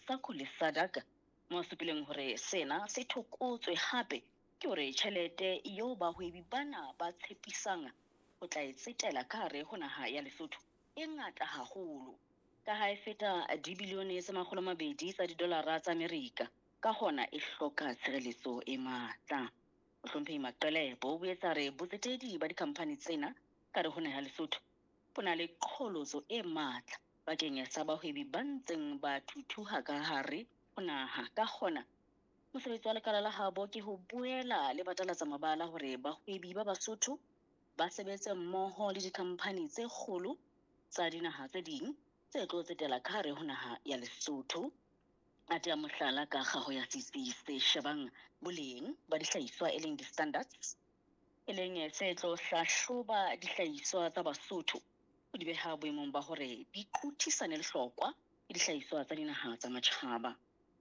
SACU le SADC, moo a supileng hore sena se thokotswe hape ke hore tjhelete eo bahwebi bana ba tshepisang ho tla e tsetela ka hare ho naha ya Lesotho e ngata haholo, ka ha e feta dibilione tse 200 tsa didolara tsa Amerika, ka hona e hloka tshireletso e matla. Mohlomphehi Maqelebo o boetse a re botsetedi ba dikhamphani tsena ka hare ho naha ya Lesotho bo na le qholotso e matla bakeng sa bahwebi ba ntseng ba thuthuha ka hare ho naha. Ka hona, mosebetsi wa lekala la habo ke ho boela le batalatsa mabala hore bahwebi ba Basotho ba sebetse mmoho le dikhamphani tse kgolo tsa dinaha tse ding tse tlo tsetela ka hare ho naha ya Lesotho. A tea mohlala ka kgaho ya setsi se shebang boleng ba dihlahiswa e leng di-standards, e leng se tlo hlahloba dihlahiswa tsa Basotho ho di beha boemong ba hore di qothisane lehlokwa le dihlahiswa tsa dinaha tsa matjhaba.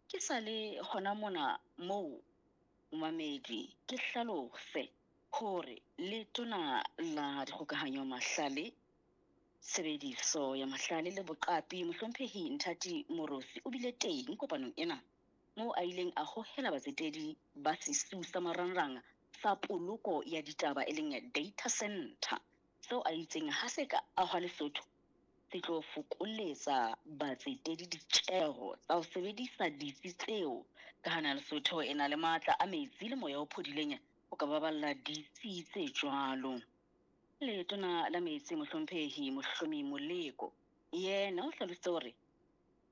Ke sa le hona mona moo momamedi ke hlalose hore Letona la Dikgokahanyo Mahlale, Tshebediso ya Mahlale le Boqapi Mohlomphehi Nthati Moorosi o bile teng kopanong ena moo a ileng a hohela batsetedi ba sesiu sa marangrang sa poloko ya ditaba e leng data center seo a itseng ha se ka ahwa Lesotho se tlo fokoletsa batsetedi ditjeho tsa ho sebedisa ditsi tseo ka ha naha Lesotho e na le matla a metsi le moya o phodileng ho ka baballa ditsi tse jwalo. Letona la Metsi Mohlomphehi Mohlomi Moleko yena o hlalositse hore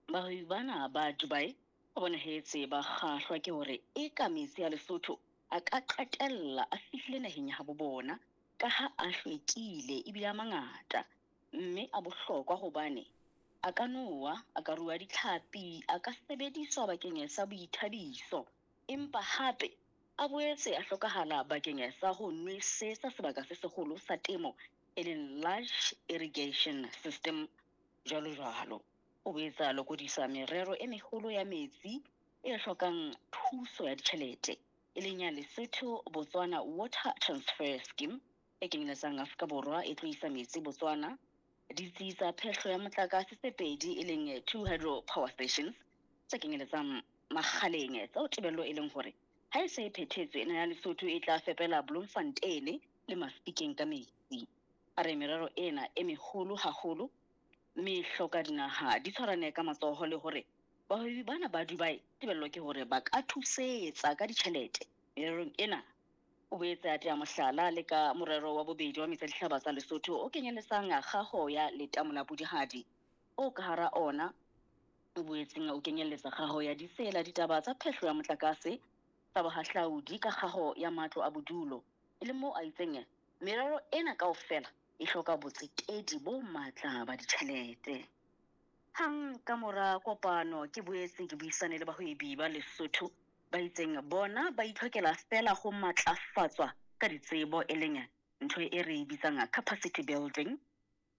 bahwebi bana ba Dubai ba bonahetse ba kgahlwa ke hore eka metsi a Lesotho a ka qetella a fihlile naheng ya habo bona ka ha a hlwekile ebile a mangata mme a bohlokwa hobane a ka nowa, a ka rua ditlhapi, a ka sebediswa bakeng sa boithabiso empa hape a boetse a hlokahala bakeng sa ho nwesetsa sebaka se seholo sa temo e leng large irrigation system jwalo jwalo. O boetse a lokodisa merero e meholo ya metsi e hlokang thuso ya ditjhelete e leng ya Lesotho Botswana Water Transfer Scheme e kenyeletsang Afrika Borwa e tlo isa metsi Botswana, ditsi tsa phehlo ya motlakase tse pedi e leng two hydro power stations tse kenyeletsang Makgaleng tseo tebello e leng hore ha e se e phethetswe naha ya Lesotho e tla fepela Bloemfontein le Mafikeng ka metsi. A re merero ena e meholo haholo mme e hloka dinaha di tshwarane ka matsoho le hore bahwebi bana ba Dubai tebello ke hore ba ka thusetsa ka ditjhelete mererong ena. O boetse a tea mohlala le ka morero wa bobedi wa metsi a dihlaba tsa Lesotho o kenyeletsang kgaho ya letamo la Pudihadi o ka hara ona o boetseng o kenyelletsa kgaho ya ditsela, ditaba tsa phehlo ya motlakase, tsa bohahlaudi ka kgaho ya matlo a bodulo, e leng moo a itseng merero ena kaofela e hloka botsetedi bo matla ba ditjhelete. Hang ka mora kopano ke boetse ke buisane le bahwebi ba Lesotho ba itseng bona ba itlhokela feela ho matlafatswa ka ditsebo e leng ntho e re e bitsang capacity building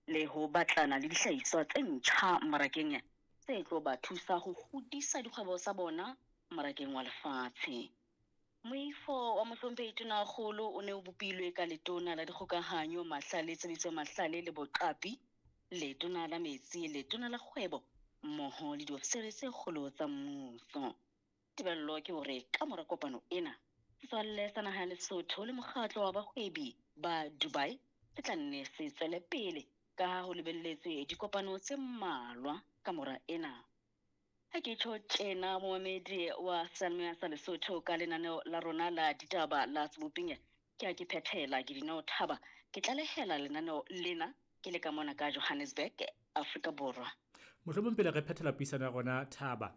le ho batlana le dihlahiswa tse ntjha mmarakeng tse tlo ba thusa ho hodisa dikgwebo tsa bona mmarakeng wa lefatshe. Moifo wa Mohlomphehi Tonakgolo o ne o bopilwe ka Letona la Dikgokahanyo, Mahlale, Tshebediso ya Mahlale le Boqapi, Letona la Metsi, Letona la Kgwebo mmoho le diofisiri tse kgolo tsa mmuso. Tebello ke hore ka mora kopano ena, setswalle sa naha ya Lesotho le mokgatlo wa bahwebi ba Dubai se tla nne se tswele pele ka ha ho lebelletswe dikopano tse mmalwa ka mora ena. Ha ke tjho tjena momamedi wa Seyalemoya sa Lesotho ka lenaneo la rona la ditaba la Seboping, ke a ke phethela ke Dineo Thaba, ke tlalehela lenaneo lena ke le ka mona ka Johannesburg, Afrika Borwa. Mohlomong pele re phethela puisano ya rona Thaba,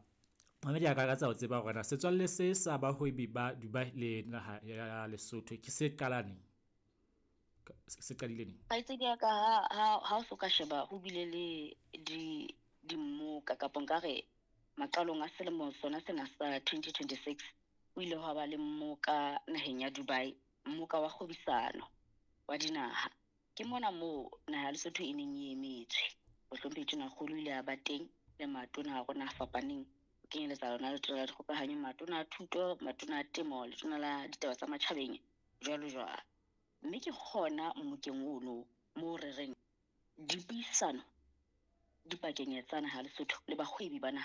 mamedi a ka ka tsa ho tseba hore na setswalle se sa bahwebi ba Dubai le naha ya Lesotho ke se qala neng? Se qadile neng? Kgaitsedi ya ka ha ha ha o so ka sheba ho bile le di dimmoka kapa nkare maqalong a selemo sona sena sa 2026 o ile hwa ba le mmoka naheng ya Dubai, mmoka wa kgwebisano wa dinaha. Ke mona moo naha ya Lesotho e neng e emetswe. Mohlomphehi Tonakgolo o ile a ba teng le matona a rona a fapaneng, ho kenyeletsa lona Letona la Dikgokahanyo, matona a thuto, matona a temo, letona la ditaba tsa matjhabeng, jwalo jwalo. Mme ke hona mmokeng ono moo re reng dipuisano dipakeng tsa naha ya Lesotho le bahwebi ba naha